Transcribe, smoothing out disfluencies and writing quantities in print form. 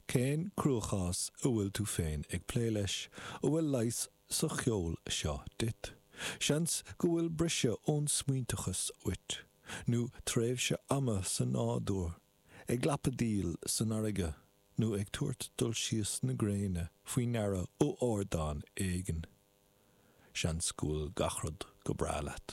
Cén cruachás a bhfuil tú féin ag plé leis, a bhfuil leigheas sa cheol seo duit? Seans go bhfuil briseadh ón smaointeachas uait, nó tréimhse ama sa nádúr, ag lapadaíl san fharraige, nó ag tabhairt dul síos na gréine faoi ndeara ó ardán éigin. Seans go bhfuil gach rud go breá leat.